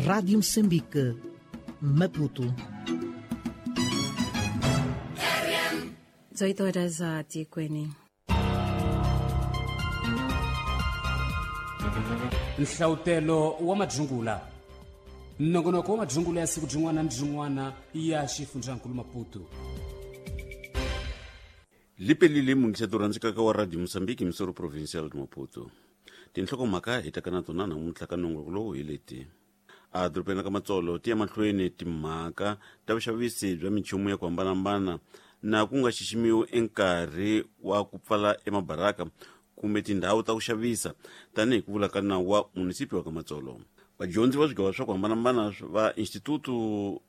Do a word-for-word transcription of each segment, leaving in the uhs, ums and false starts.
Rádio Moçambique, Maputo. dezoito horas a Tikwene. Nhlautelo wa madzungula nongonoko wa madzungula ya siku byin'wana ni byin'wana ya xifundzankulu Maputo. Lipelile mungiseto rhandzekaka wa Radio Mozambique misoro provincial de Maputo. Tinhlokomhaka hi taka na tona namuntlha ka nongonoko lowu hi leti: a dorobeni ka Matsolo ti ya mahlweni timhaka ta vuxavisi bya minchumu ya ku hambanahambana na ku nga xiximiwi enkarhi wa ku pfala emabaraka kumbe tindhawu ta ku xavisa tanihi ku vula ka nawu wa munisipi wa ka Matsolo. Vadyondzi va swigava swa ku hambanahambana va Instituto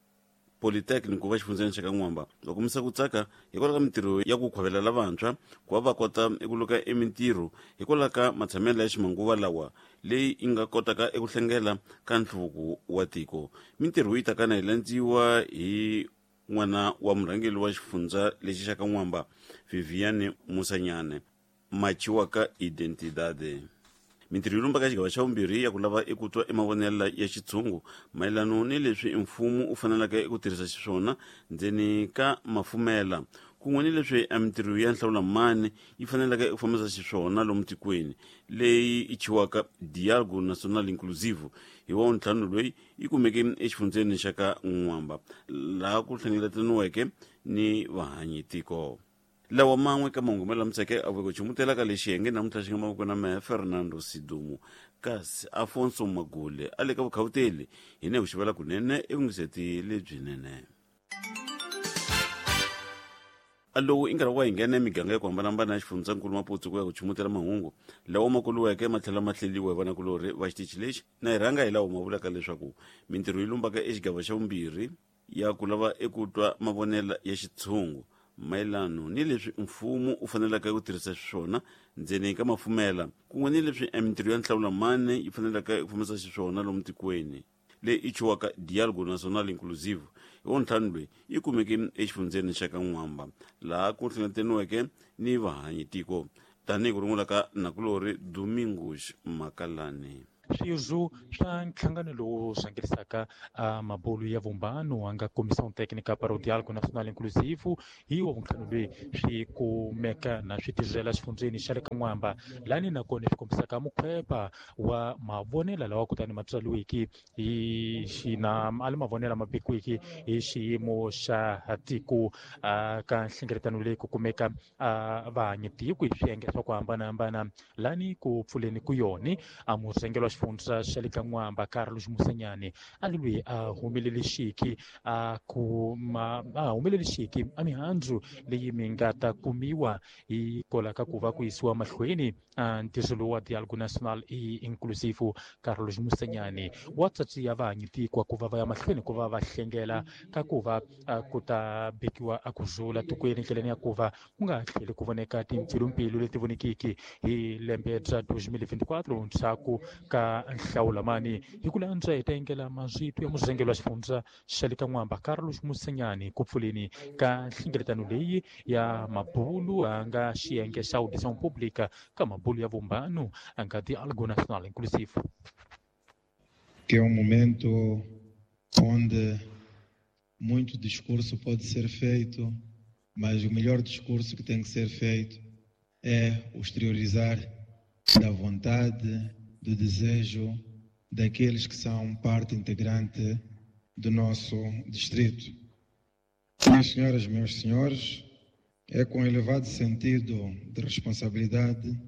Politécnico va xifundzeni xa ka N'wamba va kombisa ku tsaka hikwalaho ka mintirho ya ku khwavelela lavantshwa ku va va kota eku luka emintirho hikwalaho ka matshamelo ya ximanguva lawa leyi yi nga kotaka eku hlengela ka nhluvuko wa tiko. Mintirho yi takana yi landziwa hi n'wana wa murhangeri wa xifundza lexi xa ka N'wamba, Viviane Musanyane, machiwaka Identidade. Mintirho yi lumba ka xigava xa vumbirhi ya ku lava eku twa emavonelo ya xitshungu mayelano ni leswi mfumo wu faneleke eku tirhisa xiswona ndzeni ka mafumela kun'we ni leswi a mintirho ya nhlawulamani yi faneleke eku fambisa xiswona lomu tikweni leyi yi chiwaka Dialogo Nacional Inclusivo hi wa ntlhanu loyi yi kumeke exifundzeni xa ka N'wamba laha ku hlengeletaniweke ni vahanyi tiko. Lawa man'we ka mahungu ma lamiseke a vuke chumutela ka lexi xiyenge namuntlha xi nga mavoko na mehe Fernando Sidumo, kasi Afonso Magule a le ka vukhawuteli hi ne ku xivela kunene evungiseti lebyinene. A lowu i nkarhi wa hi nghena emiganga ya ku hambanahambana ya xifundzankulu Maputo ku ya ku chumutela mahungu lawa ma kuluweke ma tlhela ma hleliwa hi vanakulorhi va xitichi lexi na hi rhanga hi lawa ma vulaka leswaku mintirho yi lumbaka exigava xa vumbirhi ya ku lava eku twa mavonelo ya xitshungu mayelano ni leswi mfumo wu faneleke ku tirhisa xiswona ndzeni ka mafumela kun'we ni leswi emintirho ya nhlawulamani yi faneleke ku fambisa xiswona lomu tikweni leyi yi chiwaka Dialogo Nacional Inclusive hi wa ntlhanu loyi yi kumeke exifundzeni xa ka N'wamba laha ku hlengeletaniweke ni vahanyi tiko tanihi ku rungula ka nakulorhi Domingos Makalani. Swirho swa nhlangano lowu rhangerisaka mabulu ya vumbano a nga Comissão Técnica para o Diálogo Nacional Inclusivo hi wa vuntlhanu loyi swi kumeka na swi tirhela xifundzeni xa le ka N'wamba lani nakona swi kombisaka mukhwepa wa mavonelo lawa kutani ma tswariwiki hi xina a le mavonelo ma bikiwiki hi xiyimo xa tiko ka nhlengeletano leyi ku kumeka vahanyi tiko hi swiyenge swa ku hambanahambana lani ku pfuleni ku yoni a murhangeri wa xifundza xa le ka N'wamba Carlos Musanyane a ri loyi a humelelexiki a kuma a humelelexiki a mihandzu leyi mi nga ta kumiwa hi kola ka ku va ku yisiwa mahlweni a ntirho lowu wa Dialogo Nacional Inclusive. Carlos Musanyane wa tsatsiya vahanyi tiko ku va va ya mahlweni ku va va hlengela ka ku va ku ta bikiwa a ku zula tikweni ndleleni ya ku va ku nga tlheli ku voneka timpfilumpfilu leti vonekiki hi lembe bya twenty twenty-four ndzhaku ka nhlawulamani. Hi ku landza hi ta yingela mazwito ya murhangeri wa xifundza xa le ka N'wamba Carlos Musanyane ku pfuleni ka nhlengeletano leyi ya mabulu a nga xiyenge xa audição pública ka mabulu ya vumbano a nga Diálogo Nacional Inclusivo. Que é um momento onde muito discurso pode ser feito, mas o melhor discurso que tem que ser feito é o exteriorizar da vontade, do desejo daqueles que são parte integrante do nosso distrito. Minhas senhoras, meus senhores, é com elevado sentido de responsabilidade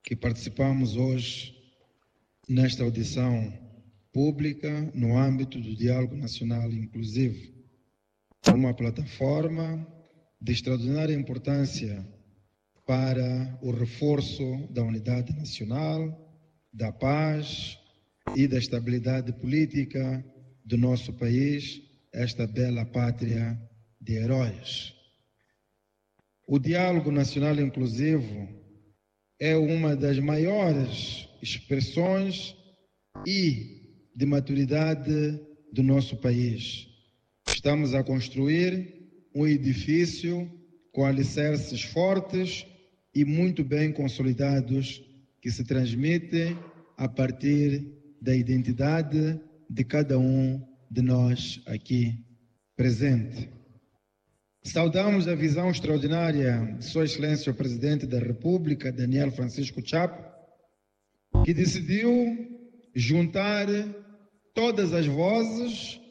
que participamos hoje nesta audição pública no âmbito do Diálogo Nacional Inclusivo, uma plataforma de extraordinária importância para o reforço da unidade nacional, da paz e da estabilidade política do nosso país, esta bela pátria de heróis. O Diálogo Nacional Inclusivo é uma das maiores expressões e de maturidade do nosso país. Estamos a construir um edifício com alicerces fortes e muito bem consolidados que se transmitem a partir da identidade de cada um de nós aqui presente. Saudamos a visão extraordinária de Sua Excelência o Presidente da República, Daniel Francisco Chapo, que decidiu juntar todas as vozes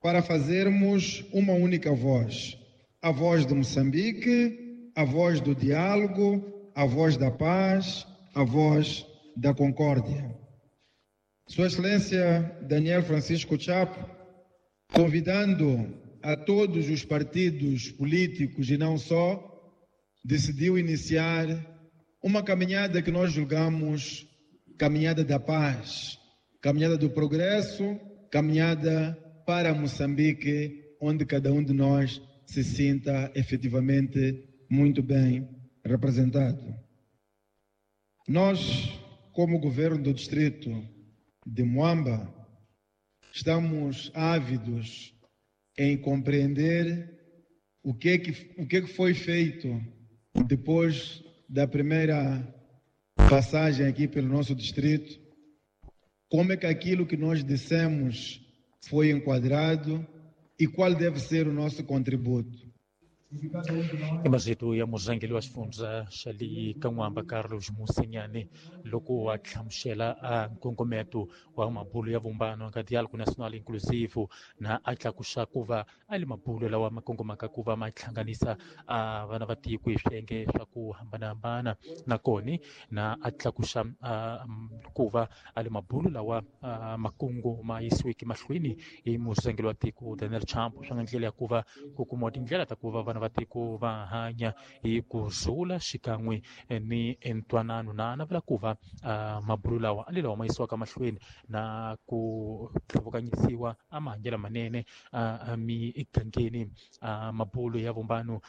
para fazermos uma única voz. A voz de Moçambique, a voz do diálogo, a voz da paz, a voz da concórdia. Sua Excelência Daniel Francisco Chapo, convidando a todos os partidos políticos e não só, decidiu iniciar uma caminhada que nós julgamos caminhada da paz, caminhada do progresso, caminhada para Moçambique, onde cada um de nós se sinta efetivamente muito bem representado. Nós, como governo do distrito de Moamba, estamos ávidos em compreender o que é que, o que é que foi feito depois da primeira passagem aqui pelo nosso distrito, como é que aquilo que nós dissemos foi enquadrado e qual deve ser o nosso contributo. Imazito ya murhangeri wa xifundza xa le Kan'wamba Carlos Mosinyane loko a hlamusela a nkongometo wa mabulo ya vumbano ka diálogo nacional inclusivo na a tlakusa ku va a le mabulo lawa ma kongomaka ku va ma hlanganisa a vana va tiko hi swiyenge swa ku hambanahambana nakona na a tlakusa ku va a le mabulo lawa makungu ma yisiweke mahlweni hi murhangeri wa tiko Daniel Chapo swa nga ndlela ya ku va ku kumiwa tindlela ta ku va vana va tiko va hanya hi ku rhula xikan'we ni ntwanano na navela ku va mabulo lawa a le lawa ma yisiwaka mahlweni na ku tlhuvukanyisiwa a mahanyelo manene a migangeni mabulo ya vumbano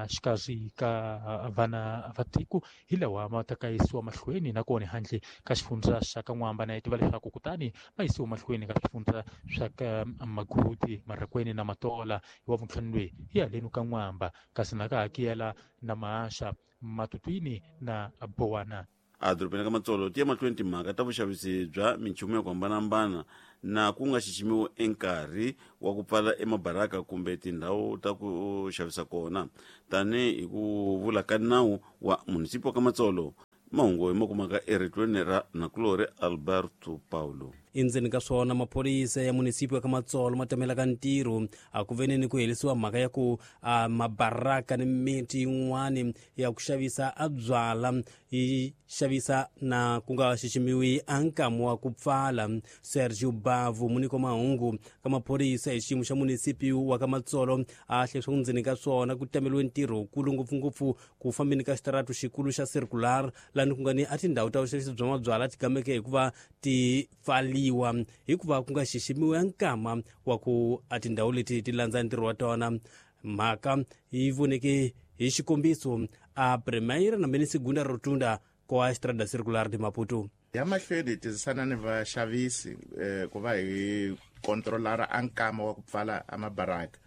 xikarhi ka vana va tiko hi lawa ma ta ka yisiwa mahlweni nakona handle ka xifundza xa ka N'wamba na hi tiva leswaku kutani ma yisiwa mahlweni ka swifundza swa ka Magudi, Marikweni na Matola hi wa vuntlhanu loyi hi haleni ka N'wamba kasi na ka hakela na Maasha, Matutwini na Bowana. Edorobeni ka Matsolo ti ya mahlweni timhaka ta vuxavisi bya minchumu ya ku hambanahambana na ku nga xiximiwi enkarhi wa ku pfala emabaraka kumbe tindhawu ta ku xavisa kona tanihi ku vula ka nawu wa munisipi wa ka Matsolo. Mahungu hi ma kumaka eritweni ra nakulori Alberto Paulo. Endzeni ka swona maphorisa ya munisipi wa ka Matsolo ma tamelaka ntirho a ku veneni ku herisiwa mhaka ya ku a mabaraka ni miti yin'wani ya ku xavisa a byala yi xavisa na ku nga xiximiwi a nkamu wa ku pfala. Sergio Bavu muniko mahungu ka maphorisa hi xiyimo xa munisipi wa ka Matsolo a hle swa ndzeni ka swona ku tameliwe ntirho wukulu ngopfungopfu ku fambeni ka xitaratu xikulu xa circular lani ku nga ni a tindhawu ta vuxavisi bya mabyala ti gameke hikuva ti pfali hikuva ku nga xiximiwa nkama wa ku a tindhawu leti ti landza ntirho wa tona. Mhaka yi voneke hi xikombiso a Primeira na mini Segunda Rotunda kwa Estrada Circular de Maputo. Ya mahlweni hi tirhisana ni vaxavisi eh, ku va hi kontrolara a nkama wa ku pfala a mabaraka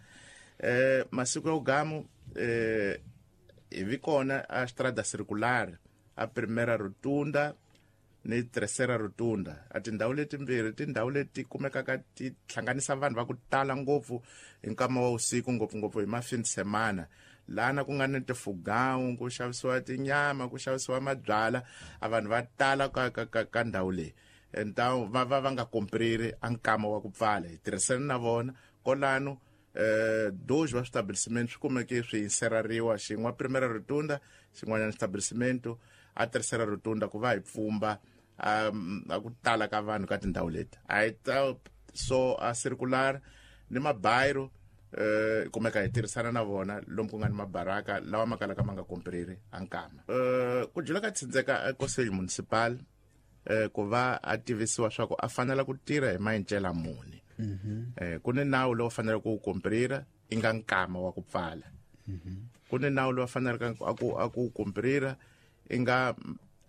eh, masiku ya ugamu eh, hi vi kona a Estrada Circular a Primeira Rotunda ni Terceira Rotunda. A tindhawu letimbirhi tindhawu leti kumekaka ti hlanganisa vanhu va ku tala ngopfu hi nkama wa usiku ngopfungopfu hi mafini semana lana ku nga ni tifugawu ku xavisiwa tinyama ku xavisiwa mabyala a vanhu va tala ka ka ka, ka ndhawu leyi entawu va va va nga kompriri a nkama wa ku pfala. Hi tirhisana na vona kolano eh dois va estabelecimento swi kumeke swi inserariwa xin'we Primeira Rotunda xin'wanyana estabelecimento a Terceira Rotunda ku va hi pfumba a ku tala ka vanhu ka tindhawu leti. A hi ta so a circular ni mabayiro eh kumeka hi tirhisana na vona lomu ku nga ni mabaraka lawa ma kalaka ma nga kompriri a nkama. Eh ku dyula ka tsindzeka conselho municipal eh ku va a tivisiwa swa ku a fanela ku tirha hi maendlela muni. Eh ku ni nawu lowu faneleke ku komprira i nga nkama wa ku pfala. Ku ni nawu lowu faneleke a ku a ku komprira i nga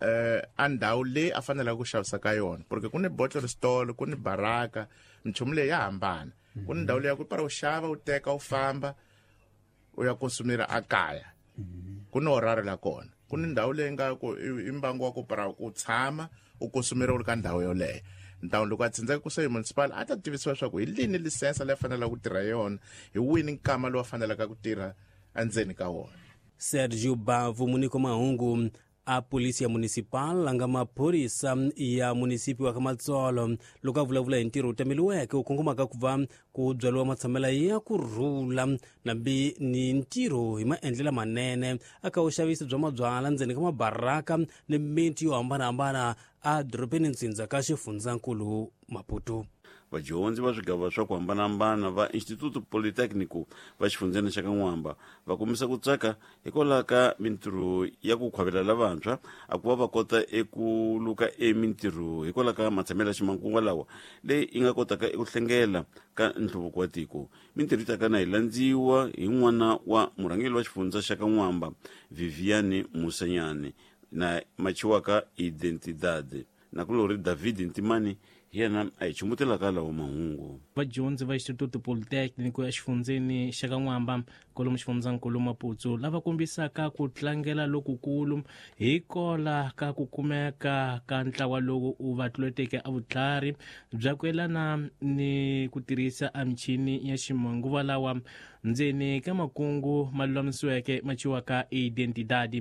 eh a ndhawu leyi a faneleke ku xavisa ka yona porque ku ni bottle store ku ni baraka minchumu leyi ya hambana. Ku ni ndhawu leyi ya ku para u xava u teka u famba u ya konsumira a kaya ku ni horario la kona. Ku ni ndhawu leyi nga ku i mbangu wa ku para u tshama u konsumira u ri ka ndhawu yoleyo. Ndhawu loko a tsindzaka conselho municipal a ta tivisiwa swa ku hi lini lisensa leyi fanelaka ku tirha yona, hi wini nkama lowu fanelaka ku tirha endzeni ka wona. Sergio Bavu muniko mahungu a polícia municipal a nga maphorisa ya munisipio wa Kamatsolo loko a vulavula hi ntirho wu tameliweke wu kongomaka ku va ku byariwa matshamela ya ku rhula nambi ni ntirho hi maendlelo manene aka vuxavisi bya mabyala ndzeni ka mabaraka ni miti yo hambanahambana a dorobeni ntsindza ka xifundzankulu Maputo. Vadyondzi va swigava swa ku hambanahambana va Instituto Politécnico va xifundzeni xa Kan'wamba va kombisa ku tsaka hikwalaho ka mintirho ya ku khwavela lavantshwa a ku va va kota eku luka emintirho hikwalaho ka matshamelo ya ximanguva lawa leyi yi nga kotaka eku hlengela ka nhluvuko wa tiko. Mintirho yi taka na yi landziwa hi n'wana wa murhangeri wa xifundza xa Kan'wamba Viviane Musanyane na machiwaka Identidade nakulori David Ntimani yena a hi chumutelaka lawa mahungu. Vadyondzi va Instituto Politécnico ya xifundzeni xa Kan'wamba kwalomu xifundzankulu Maputo lava kombisaka ku tlangela lokukulu hi kola ka ku kumeka ka ntlawa lowu u va tluleteke a vutlhari bya ku yelana ni ku tirhisa a michini ya ximanguva lawa ndzeni ka makungu ma lulamisiweke ma ciwaka Identidade.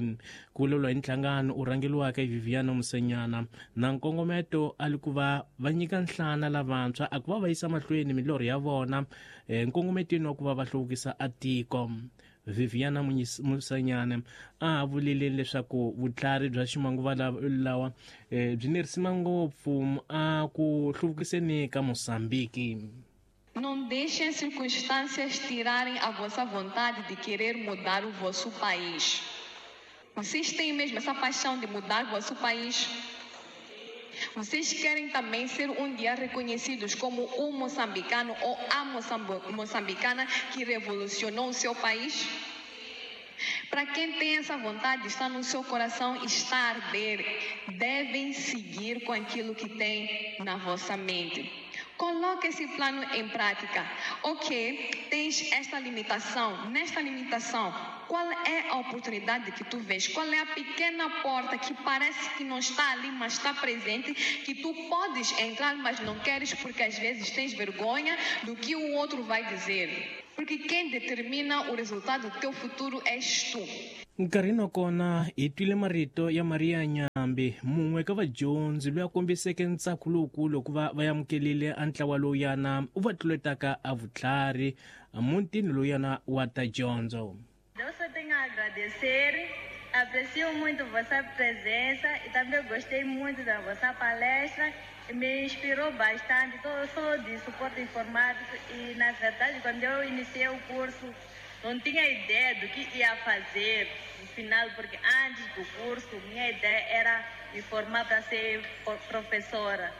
Ku vulavula hi nhlangano u rhangeriwaka hi Viviana Musanyana na nkongometo a li ku va va nyika nhlana lavantshwa a ku va va yisa mahlweni milorho ya vona nkongometweni wa ku va va hluvukisa a tiko. Viviana Musanyana a vulile leswaku vutlhari bya ximanguva lawa byi ni risima ngopfu a ku hluvukiseni ka Mozambique. Não deixem as circunstâncias tirarem a vossa vontade de querer mudar o vosso país. Vocês têm mesmo essa paixão de mudar o vosso país? Vocês querem também ser um dia reconhecidos como o moçambicano ou a moçambicana que revolucionou o seu país? Para quem tem essa vontade, está no seu coração, está a arder. Devem seguir com aquilo que tem na vossa mente. Coloque esse plano em prática. Ok, tens esta limitação. Nesta limitação, qual é a oportunidade que tu vês? Qual é a pequena porta que parece que não está ali, mas está presente, que tu podes entrar, mas não queres porque às vezes tens vergonha do que o outro vai dizer? Porque quem determina o resultado do teu futuro és tu. Nkarhini wa kona hi twile marito ya Maria Nyambi mun'we ka vadyondzi loyi a kombiseke ntsako lowukulu ku va va amukelile a ntlawa lowuyana u va tluletaka a vutlhari mutini lowuyana wa ta dyondzo. Eu só tenho a agradecer, aprecio muito vossa presença e também gostei muito da vossa palestra. Me inspirou bastante. Eu sou de suporte informático e, na verdade, quando eu iniciei o curso, não tinha ideia do que ia fazer no final, porque antes do curso, minha ideia era me formar para ser professora.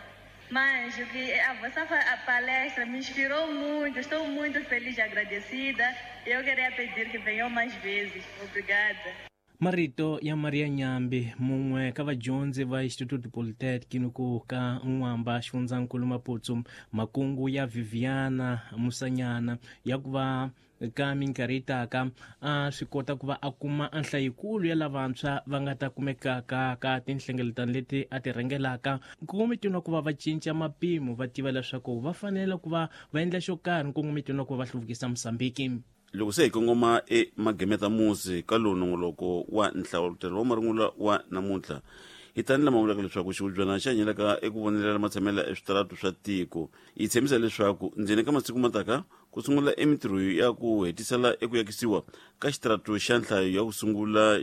Mas o que a vossa palestra me inspirou muito, estou muito feliz e agradecida. Eu queria pedir que venham mais vezes. Obrigada. Marito ya Maria Nyambi mun'we ka vadyondzi va Instituto Politécnico ka N'wamba xifundzankulu Maputo makungu ya Viviana Musanyana ya ku va ka minkarhi yi taka a swi kota ku va a kuma a nhlayikulu ya lavantshwa va nga ta kumekaka ka tinhlengeletano leti a ti rhangelaka nkongometweni wa ku va va cinca mapimo va tiva leswaku va fanele ku va va endla xo karhi nkongometweni wa ku va va hluvukisa Mozambique. Loko se hi kongoma emagemeta musi ka lowu nongoloko wa nhlawutelo wa marungula wa namuntlha hi tani lama vulaka leswaku xivubyana xi hanyelaka eku vonelela matshamela eswitaratu swa tiko yi tshembisa leswaku ndzeni ka masiku mataka ku sungula emintirho ya ku hetisela eku yakisiwa ka xitaratu xa nhlayo ya ku sungula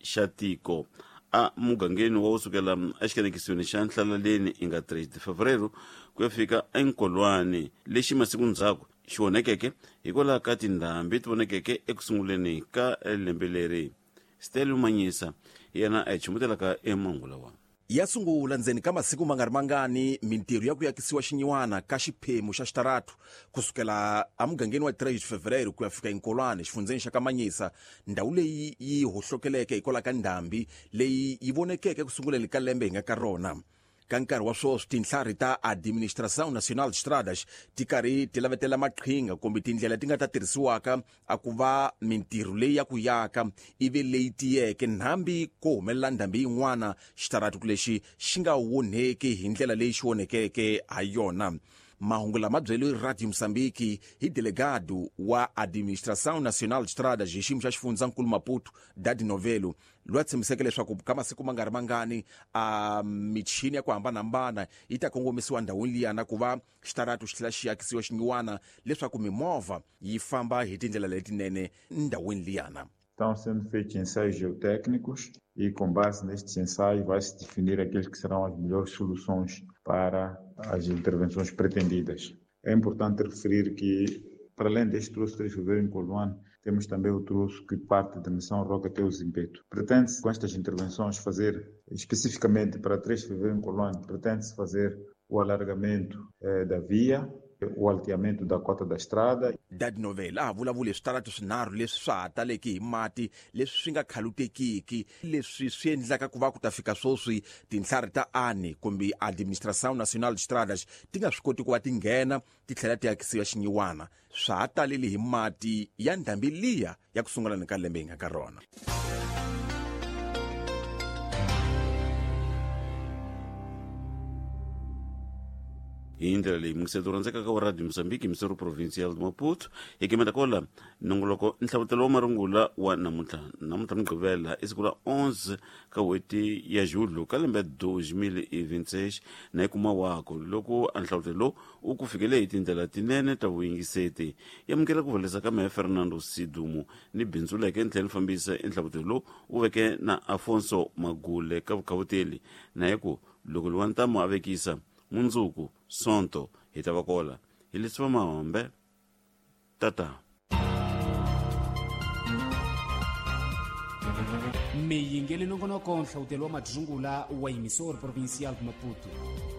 xa tiko a mugangeni wa kusukela exikanekisweni xa Nhlaleleni i nga tres de fevereiro ku ya fika enkolwani lexi masiku ndzhaku xi onhekeke hikwalaho ka tindhambi ti vonekeke eku sunguleni ka lembe leri. Stelo Manyisa yena a hi chumutelaka emangula wa ya sungula ndzeni ka masiku ma nga ri mangani mintirho ya ku yakisiwa xinyiwana ka xiphemu xa xitaratu kusukela emugangeni wa tres de fevereiro ku ya fika enkolwane xifundzeni xa Kamanyisa ndhawu leyi yi hohlokeleke hikwalaho ka ndhambi leyi yi vonekeke ku sunguleni ka lembe hi nga ka rona. Ka nkarhi wa sweswi tinhlari ta Administração Nacional de Estradas ti karhi ti lavetela maqhinga kumbe tindlela ti nga ta tirhisiwaka a ku va mintirho leyi ya ku yaka ivi leyi tiyeke nhambi ko humelela ndhambi yin'wana xitaratu lexi xi nga onheki hi ndlela leyi xi onhekeke ha yona. Mahungu lama byeliwe Radio Moçambique hi delegado wa Administração Nacional de Estradas hi xiyimo xa xifundzankulu Maputo Dadi Novelo loyi a tshembiseke leswaku ka masiku ma nga ri mangani a michini ya ku hambanahambana yi ta kongomisiwa ndhawini liyana ku va xitaratu xi tlhela xi akisiwa xinyiwana leswaku mimovha yi famba hi tindlela letinene ndhawini liyana. Estão sendo feitos ensaios geotécnicos e, com base nestes ensaios, vai-se definir aqueles que serão as melhores soluções para as intervenções pretendidas. É importante referir que, para além deste troço três de fevereiro em Coluane, temos também o troço que parte da Missão Roca até o Zimpeto. Pretende-se, com estas intervenções, fazer, especificamente para três de fevereiro em Coluane, pretende-se fazer o alargamento eh, da via, o alteamento da cota da estrada. Dadi Novela a vulavula hi switaratu swinharhu leswi swa ha taleke hi mati leswi swi nga khalutekiki leswi swi endlaka ku va ku ta fika sweswi tinhlari ta ANE kumbe Administração Nacional de Estradas ti nga swi koti ku va ti nghena ti tlhela ti akisiwa xinyiwana swa ha talele hi mati ya ndhambi liya ya ku sungula ni ka lembe hi nga ka rona. Hi ndlela leyi muyingiseti rhandzekaka wa Radio Moçambique Emissora Provincial de Maputo hi kemeta kola nongoloko nhlavutelo wa marungula wa namuntlha namuntlha mugqivela i siku ra onze ka n'hweti ya Julho ka lembe dois mil e vinte e seis na yi kuma wako loko a nhlavutelo lowu u ku fikele hi tindlela tinene ta vuyingiseti yamukela ku vhelesa ka mehe Fernando Sidumo ni bindzuleke ni tlhela ni fambisa enhlavutelo lowu u veke na Afonso Magule ka vukhavuteli na hi ku loko luwa ntamu a vekisa mundzuku sonto hi ta va kola hi leswi va mahombe tata. Miyingeli nongonoko nhlavutelo wa madzungula wa Emissora Provincial de Maputo.